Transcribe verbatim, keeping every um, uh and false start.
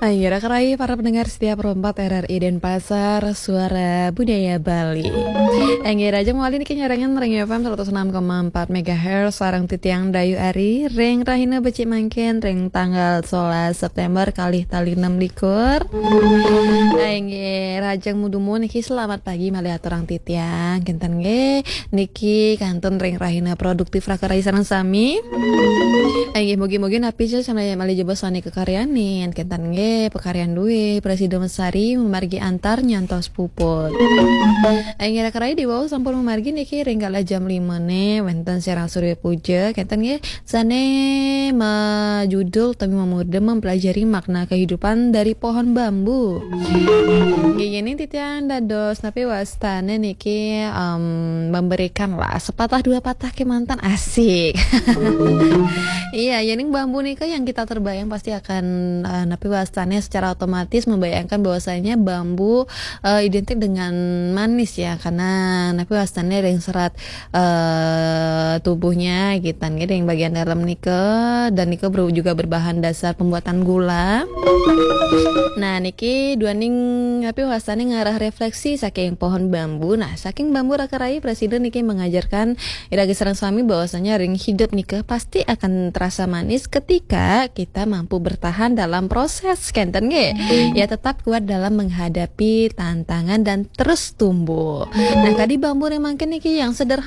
Ayo, raka rai para pendengar setia Pro empat R R I Denpasar, Suara Budaya Bali. Enggih, rahajeng malih niki nyarengan ring F M seratus enam koma empat megahertz, sareng titiang Dayu Ari, ring rahina becik mangkin, ring tanggal sebelas September kalih tali enam likur. Enggih, rahajeng dumun niki selamat pagi malih aturang titiang, kinten nggih, niki kantun ring rahina produktif raka rai sareng sami. Inggih, mugi-mugi napi ja sami malih jebos sami kakaryanin, kinten nggih, pakaryan duwé, prasida mesari, mamargi antar nyantos puput. Inggih, raka rai diwau sampun mamargi niki ring galah jam lima né, wénten siaran Surya Puja, kinten nggih, sané majudul utawi mamurda mempelajari makna kehidupan dari pohon bambu. Inggih, yéning titiang dados napi wastané niki, em, memberikan lah sepatah dua patah kémanten, asik. Iya, yéning bambu nika yang kita terbayang pasti akan, eh, napi wastané secara otomatis membayangkan bahwasanya bambu, eh, identik dengan manis ya, karena napi wastané ring serat, eh, tubuhnya, kinten nggih, ring bagian dalam nika, dan nika ber-, juga berbahan dasar pembuatan gula. Nah, niki duaning napi wastané ngarah refleksi saking pohon bambu. Nah, saking bambu raka rai, prasida niki mengajarkan ira sareng sami bahwasanya ring hidup nika pasti akan terasa manis ketika kita mampu bertahan dalam proses, kinten nggih. Ya, tetap kuat dalam menghadapi tantangan dan terus tumbuh. Nah, kadi bambu ring mangkin niki yang sederhana